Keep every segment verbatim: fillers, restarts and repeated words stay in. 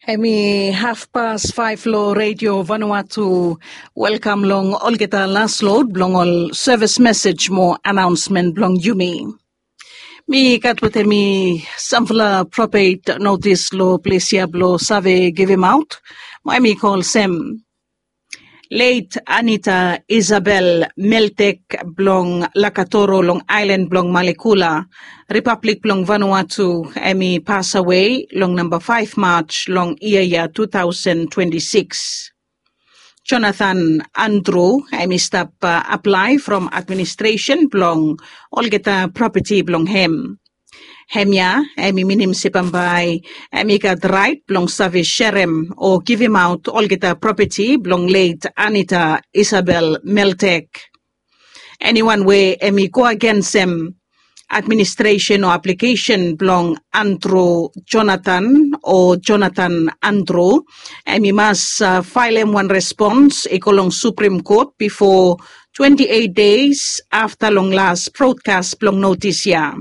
Hemi hafpas faef long Redio Vanuatu. Welkam long olgeta las lod blong ol sevis mesej mo anaonsmen blong yumi. Mi gat wetem mi samfala propet notis long ples ya blong save givimaot. Mo hemi kol olsem, Leit Anita Isabel Meltek blong Lakatoro long aelan blong Malekula, Ripablik blong Vanuatu, hemi pasawe long namba faef Maj long yia ya tu taosen twenti sikis. Jonathan Andru hemi stap aplae from administresen blong olgeta propeti blong hem. Hemia hemi minim se bambae hemi gat raet blong save serem o givimaot olgeta propeti blong leit Anita Isabel Meltek. Eniwan we hemi go agensem administresen o aplikesen blong Andru Jonathan o Jonathan Andru, hemi mas faelem wan respons i go long Suprim Kot bifo twenti eit deis afta long las brodkas blong notis ya.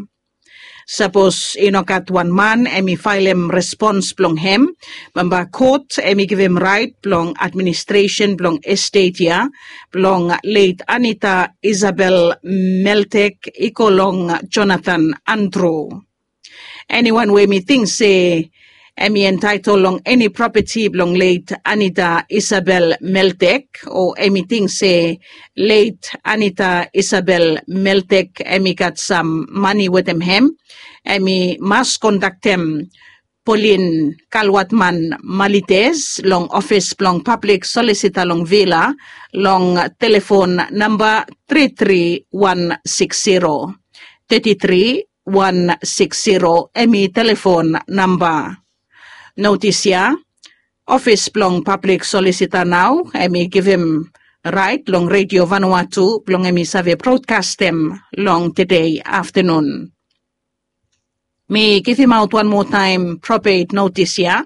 Sapos i no gat wan man hemi faelem respons blong hem, bambae kot hemi givim raet blong administresen blong estet ya blong leit Anita Isabel Meltek i go long Jonathan Andru. Eniwan we hemi ting se hemi entaetol long eni propeti blong leit Anita Isabel Meltek, o hemi ting se leit Anita Isabel Meltek hemi gat sam mane wetem hem, hemi mas kontaktem Polin Kalwatman Malites long ofis blong pablik solisita long Vila long telefon namba tri tri wan sikis zero. Tri tri wan sikis zero hemi telefon namba. Notis ya, ofis blong pablik solisita nao hemi givim raet long Redio Vanuatu blong hemi save brodkastem long tede aftanun. Mi givimaot wan moa taem propet notis ya.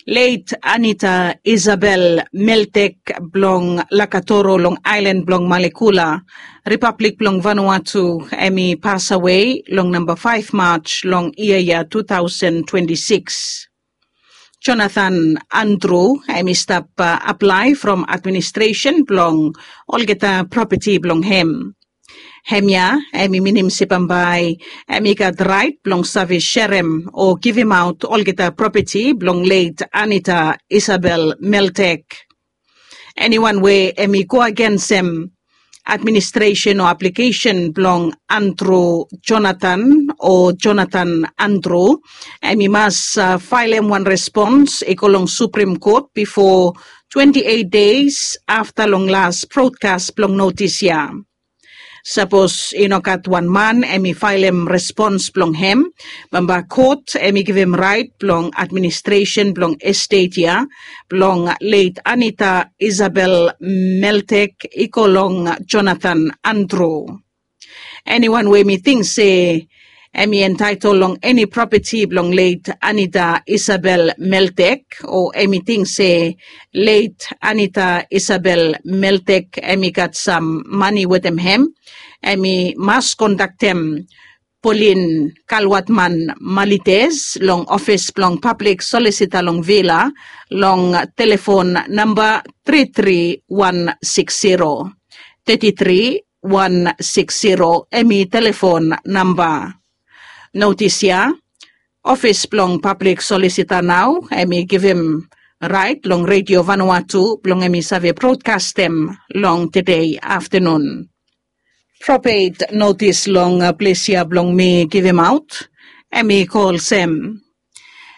Leit Anita Isabel Meltek blong Lakatoro long aelan blong Malekula, Ripablik blong Vanuatu, hemi pasawe long namba faef Maj long yia ya tu taosen twenti sikis. Jonathan Andru hemi stap aplae from administresen blong olgeta propeti blong hem. Hemia hemi minim se bambae hemi gat raet blong save serem o givimaot olgeta propeti blong leit Anita Isabel Meltek. Eniwan we hemi go agensem administresen o aplikesen blong Andru Jonathan o Jonathan Andru, hemi mas faelem wan respons i go long Suprim Kot bifo twenti eit deis afta long las brodkas blong notis ya. Sapos i no gat wan man hemi faelem respons blong hem, bambae kot hemi givim raet blong administresen blong estet ya blong leit Anita Isabel Meltek i go long Jonathan Andru. Eniwan we hemi ting se hemi entaetol long eni propeti blong leit Anita Isabel Meltek, o hemi ting se leit Anita Isabel Meltek hemi gat sam mane wetem hem, hemi mas kontaktem Polin Kalwatman Malites long ofis blong pablik solisita long Vila long telefon namba tri tri wan sikis zero. Tri tri wan sikis zero hemi telefon namba. Notis ya, ofis blong pablik solisita nao hemi givim raet long Redio Vanuatu blong hemi save brodkastem long tede aftanun. Propet notis long ples ya blong mi givimaot, hemi kol olsem,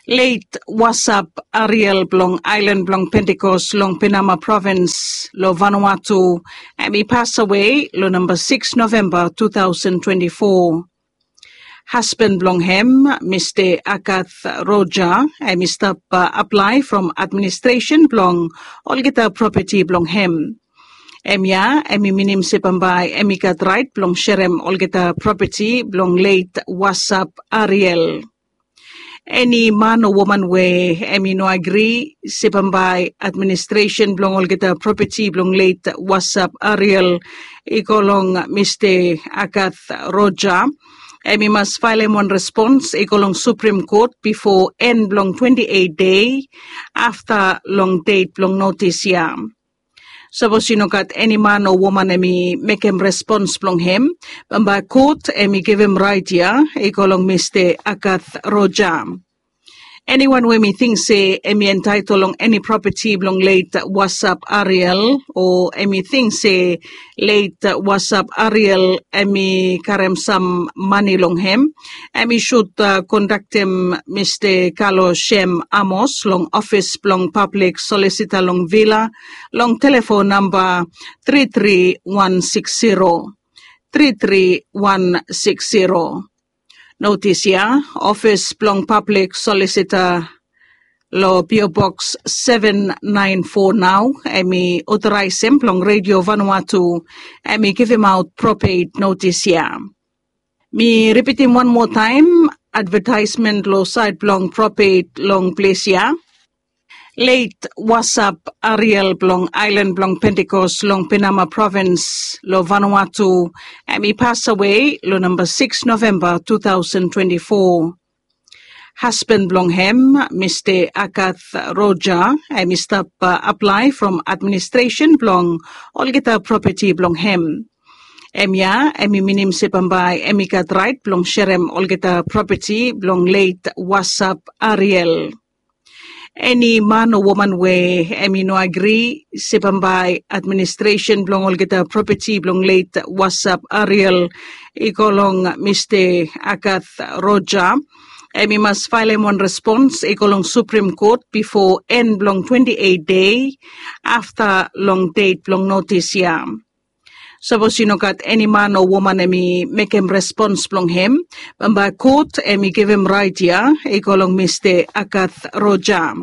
leit Wasap Ariel blong aelan blong Pentikos long Penama provins long Vanuatu, hemi pasawe long namba sikis Novemba tu taosen twenti fo. Hasban blong hem, Mista Agath Roja, hemi stap aplae from administresen blong olgeta propeti blong hem. Hemia hemi minim se bambae hemi gat raet blong serem olgeta propeti blong leit Wasap Ariel. Eni man o woman we hemi no agri se bambae administresen blong olgeta propeti blong leit Wasap Ariel i go long Mista Agath Roja, Em i mas faelem wan respons i go long Supreme Court bifo en blong twenti eit dei afta long det blong notis ya. Sapos i no gat eni man o woman em i mekem respons blong hem, bambae kot em i givim rait ya i go long Mista Agath Roja. Eniwan we mi ting se em i entaitol long eni propeti blong let Wasap Ariel, o em i ting se let Wasap Ariel em i karem sam mani long hem, em i sud kondaktem Mista Kalo Shem Amos long ofis blong pablik solisita long Vila long telefon namba tri tri wan sikis zero, tri tri wan sikis zero. Notis ya, ofis blong pablik solisita long P O Box seven nine four nao em i otoraesem blong Redio Vanuatu em i givimaot propet notis ya. Mi ripitim wan moa taem advetaesmen long saed blong propet long ples ya. Let Wasap Ariel blong aelan blong Pentekos long Penama provins long Vanuatu em i pasawe long namba sikis Novemba tu taosen twenti fo. Hasban blong hem, Mista Agath Roja, em i stap aplae from administresen blong olgeta propeti blong hem. Em ya em i minim se bambae em i gat raet blong serem olgeta propeti blong let Wasap Ariel. Eni man o woman we em i no agri se bambae administresen blong olgeta propeti blong let Wasap Ariel i go long Mista Agath Roja, em i mas faelem wan respons i go long Supreme Court bifo en blong twenti eit dei afta long det blong notis ya. Sapos i no gat eni man o woman em i mekem respons blong hem, bambae kot em i givim raet ya i go long Mista Agath Roja.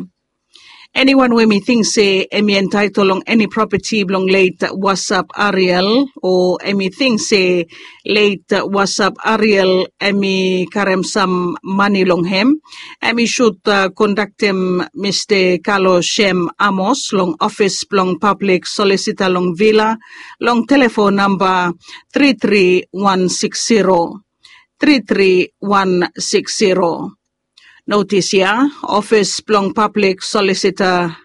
Eniwan we mi ting se em i entaitol long eni propeti blong let Wasap Ariel, o em i ting se let Wasap Ariel em i karem sam mani long hem, em i sud kondaktem Mista Kalo Shem Amos long ofis blong pablik solisita long Vila long telefon namba tri tri wan sikis zero, tri tri wan sikis zero. Notis ya, ofis blong pablik solisita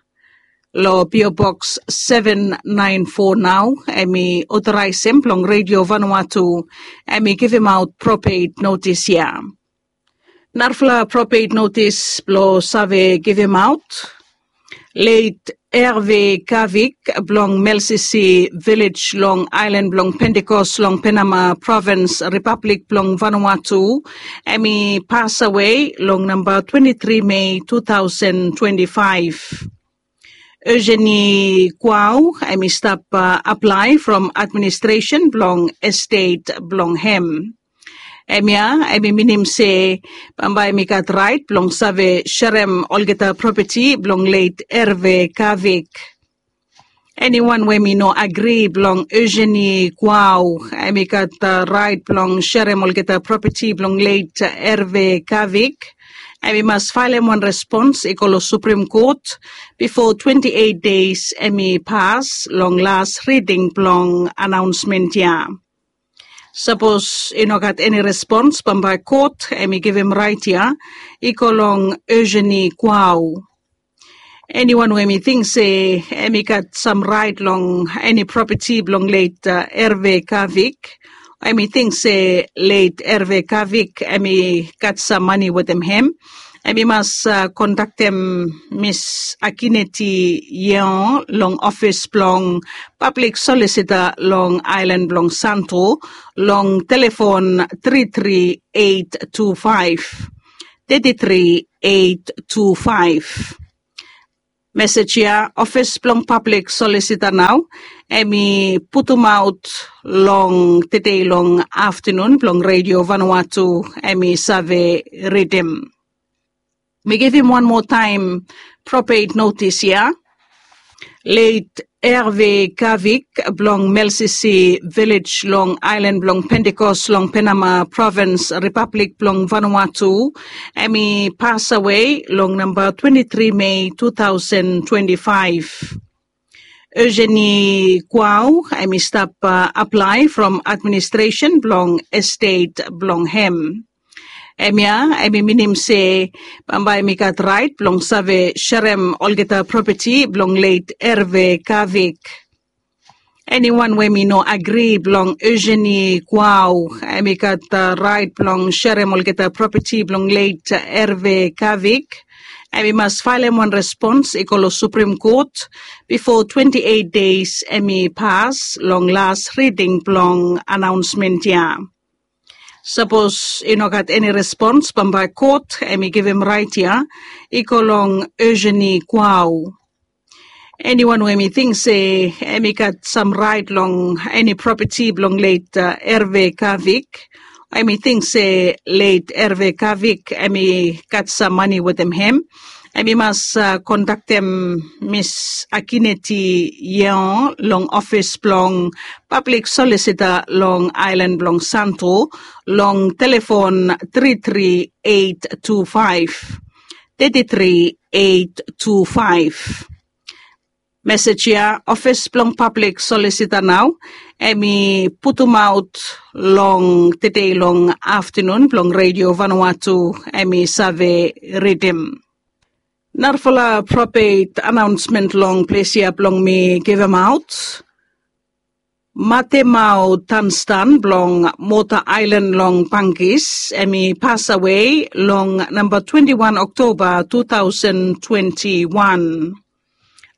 long P O Box seven nine four nao em i otoraesem blong Redio Vanuatu em i givimaot propet notis ya. Narafala propet notis blong save givimaot. Let Erve Kavik blong Melsisi Vilej long aelan blong Pentekos long Penama provins, Ripablik blong Vanuatu, em i pasawe long namba twenti tri Mei tu taosen twenti faef. Eugenie Kuau em i stap aplae from administresen blong estet blong hem. Hemia em i minim se bambae mi gat raet blong save serem olgeta propeti blong let Erve Kavik. Eniwan we mi no agri blong Eugenie Kuau em i gat raet blong serem olgeta propeti blong let Erve Kavik, em i mas faelem wan respons i go long Suprem Kot bifo twenti eit deis em i pas long las riding blong anaonsmen ya. Sapos i no gat eni respons bambae kot em i givim raet ya i go long Eugenie Kuau. Eniwan we em i ting se em i gat sam raet long eni propeti blong let Erve Kavik, em i ting se let Erve Kavik em i gat sam mani wetem hem, em i mas kondaktem Mis Akineti Yeon long ofis blong pablik solisita long aelan blong Santo long telefon tri tri eit tu faef, tri tri eit tu faef. Mesej ya ofis blong pablik solisita nao em i putumaot long tede long aftanun blong Redio Vanuatu em i save ridim. Mi givim wan moa taem propet notis ya. Let Erve Kavik blong Melsisi Vilej long aelan blong Pentekos long Penama provins, Ripablik blong Vanuatu, em i pasawe long namba twenti tri Mei tu taosen twenti faef. Eugenie Kuau, em i stap aplae from administresen blong estet blong hem. Em ya em i minim se bambae em i gat rait blong save serem olgeta propeti blong let Erve Kavik. Eniwan we mi no agri blong Eugenie Kuau, em i gat rait blong serem olgeta propeti blong let Erve Kavik, em i mas faelem wan respons i go long Suprim Kot bifo twenti eit deis em i pas long las riding blong anaonsmen ya. Sapos i no gat eni respons bambae kot em i givim rait ya i go long Eugenie Kuau. Eniwan we mi ting se em i gat sam rait long eni propeti blong let Erve Kavik, em i ting se let Erve Kavik em i gat sam mani wetem hem, em i mas kondaktem Mis Akineti Yeon long ofis blong pablik solisita long aelan blong Santo long telefon tri tri eit tu faef, tri tri eit tu faef. Mesej ya ofis blong pablik solisita nao em i putumaot long tede long aftanun blong Redio Vanuatu em i save ridim. Narafala propet anaonsmen long ples ya blong mi givimaot. Matemau Tanstan blong Mota Aelan long Bangkis em i pasawe long namba twenti wan Oktoba tu taosen twenti wan.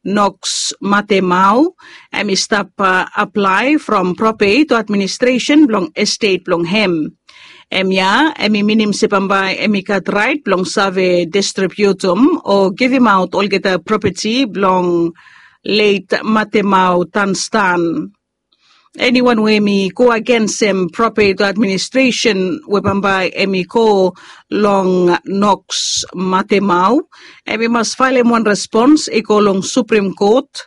Noks Matemau em i stap aplae from propet o administresen blong estet blong hem. Em ya em i minim se bambae em i gat rait blong save distribiutum o givimaot olgeta propeti blong let Matemau Tanstan. Eniwan we em i go agensem propet o administresen we bambae em i go long Noks Matemau, em i mas faelem wan respons i go long Suprim Kot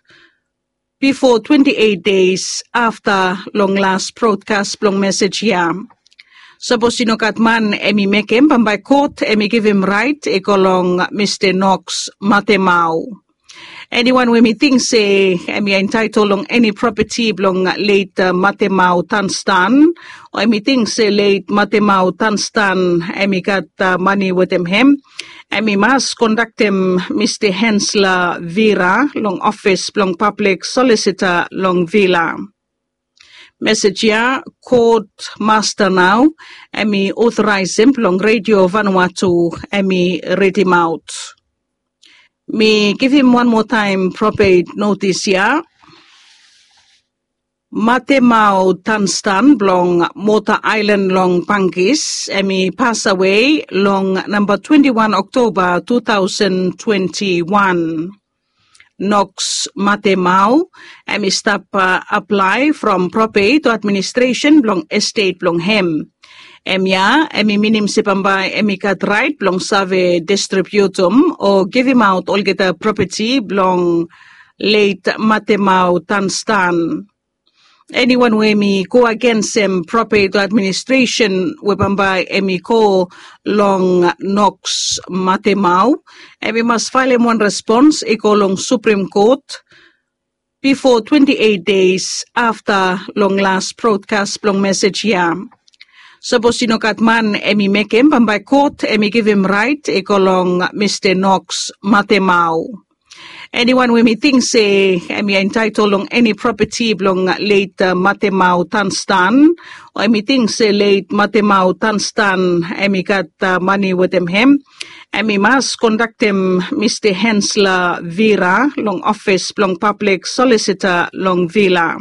bifo twenti eit deis afta long las brodkas blong mesej ya. Sapos i no gat man em i mekem, bambae kot em i givim rait i go long Mista Noks Matemau. Eniwan we em i ting se em i entaetol long eni propeti blong let Matemau Tanstan, o em i ting se let Matemau Tanstan em i gat mani wetem hem, em i mas kondaktem Mista Hensla Vira long ofis blong pablik solisita long Vila. Mesej ya kot masta nao em i otoraesem blong Redio Vanuatu em i ridimaot. Mi givim wan moa taem propet notis ya. Matemau Tanstan blong Mota Aelan long Bangkis em i pasawe long namba twenti wan Oktoba tu taosen twenti wan. Noks Matemau em i stap aplae from propet o administresen blong estet blong hem. Em ya em i minim se bambae em i gat rait blong save distribiutum o givimaot olgeta propeti blong let Matemau Tanstan. Eniwan we em i go agensem propet o administresen we bambae em i go long Noks Matemau, em i mas faelem wan respons i go long Suprim Kot bifo twenti eit deis afta long las brodkas blong mesej ya. Sapos i no gat man em i mekem, bambae kot em i givim rait i go long Mista Noks Matemau. Eniwan we em i ting se em i entaetol long eni propeti blong let Matemau Tanstan, o em i ting se let Matemau Tanstan em i gat mani wetem hem, em i mas kondaktem Mista Hensla Vira long ofis blong pablik solisita long Vila.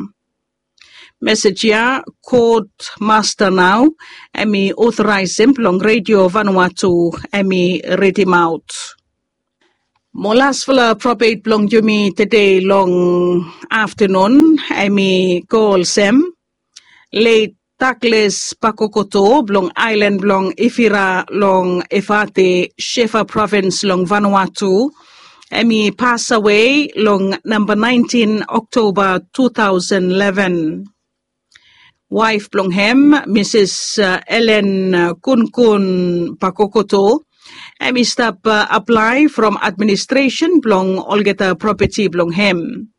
Mesej ya kot masta nao em i otoraesem blong Redio Vanuatu em i ridimaot. Mo lasfala propet blong yumi tede long aftanun em i go olsem, let Daglas Bakokoto blong aelan blong Ifira long Efate, Shefa provins long Vanuatu, em i pasawe long namba naentin Oktoba tu taosen leven. Waef blong hem, Misis Elen Kunkun Bakokoto, em i stap aplae from administresen blong olgeta propeti blong hem.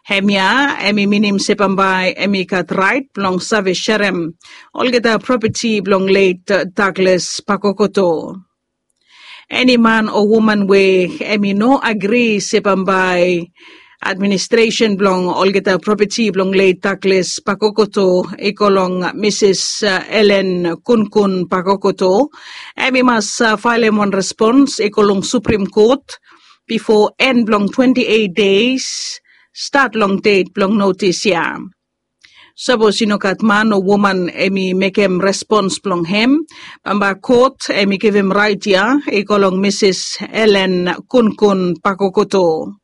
Hemia em i minim se bambae em i gat rait blong save serem olgeta propeti blong let Douglas Pakokoto. Eni man o woman we em i no agri se bambae administresen blong olgeta propeti blong let Douglas Pakokoto i go long Misis Elen Kunkun Pakokoto, em i mas faelem wan respons i go long Suprim Kot bifo en blong twenti eit deis stat long det blong notis ya. Sapos i no gat man o woman em i mekem respons blong hem, bambae kot em i givim rait ya i go long Misis Elen Kunkun Pakokoto.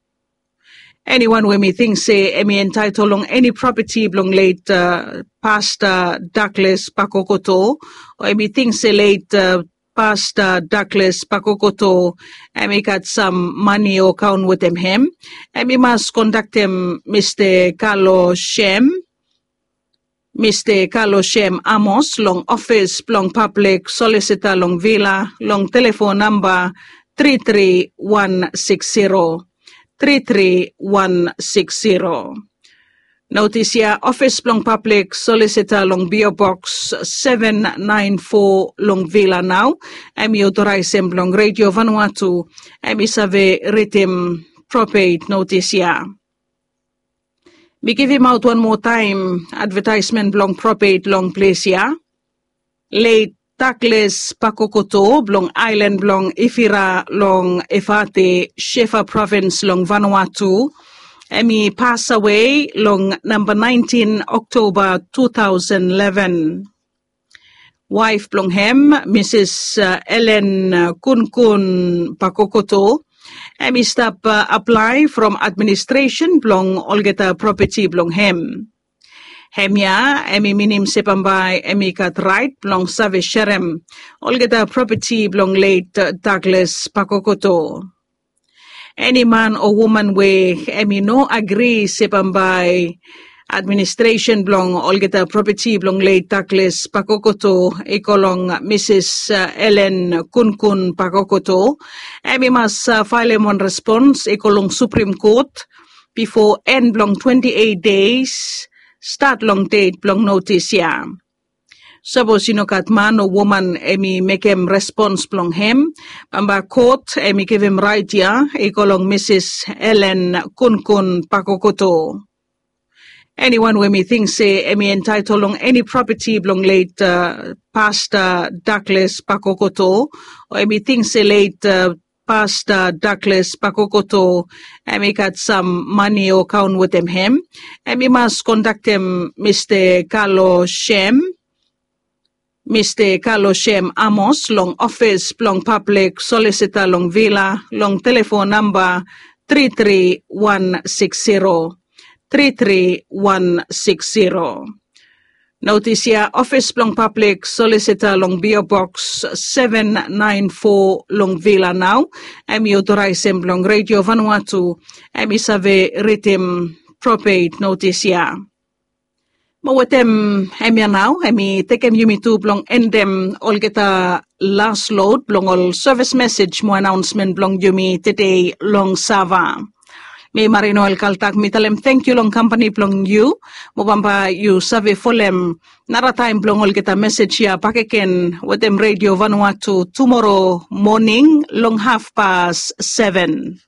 Eniwan we mi ting se em i entaetol long eni propeti blong let Pasta Douglas Pakokoto, o em i ting se let Pasta Douglas Pakokoto em i gat sam mane o kaon wetem hem, em i mas kontaktem Mista Kalo Shem, Mista Kalo Shem Amos long ofis blong pablik solisita long Vila long telefon namba tri tri wan sikis zero, tri tri wan sikis zero. Notis ya, ofis blong pablik solisita long P O Boks seven nine four long Vila nao em i otoraesem blong Redio Vanuatu em i save ridim propet notis ya. Mi givimaot wan moa taem advetaesmen blong propet long ples ya. Let Douglas Pakokoto blong aelan blong Ifira long Efate, Shefa provins long Vanuatu, em i pasawe long namba naentin Oktoba tu taosen leven. Waef blong hem, Misis Elen Kunkun Pakokoto, em i stap aplae from administresen blong olgeta propeti blong hem. Hemia em i minim se bambae em i gat raet blong save serem olgeta propeti blong let Douglas Pakokoto. Eni man o woman we em i no agri se bambae administresen blong olgeta propeti blong let Douglas Pakokoto i go long Misis Elen Kunkun Pakokoto, em i mas faelem wan respons i go long Suprim Kot bifo en blong twenti eit deis stat long det blong notis ya. Sapos i no gat man o woman em i mekem respons blong hem, bambae kot em i givim raet ya i go long Misis Elen Kunkun Pakokoto. Eniwan we em i ting se em i entaetol long eni propeti blong let Pasta Douglas Pakokoto, o em i ting se let Pasta Douglas Pakokoto em i gat sam mane o kaon wetem hem, em i mas kontaktem Mista Kalo Shem, Mista Kalo Shem Amos long ofis blong pablik solisita long Vila long telefon namba tri tri wan sikis zero, tri tri wan sikis zero. Notis ya, ofis blong pablik solisita long P O Boks seven nine four long Vila nao em i otoraesem blong Redio Vanuatu em i save ridim propet notis ya. Mo wetem hemia nao em i tekem yumi tu blong endem olgeta las lod blong ol sevis mesej mo anaonsmen blong yumi tede long Sava. Mi Marino El Kaltak mi talem tangkiu long kampani blong yu. Mo bambae yu save folem narataem blong olgeta mesej ya bakegen wetem Redio Vanuatu tumoro moning long hafpas seven.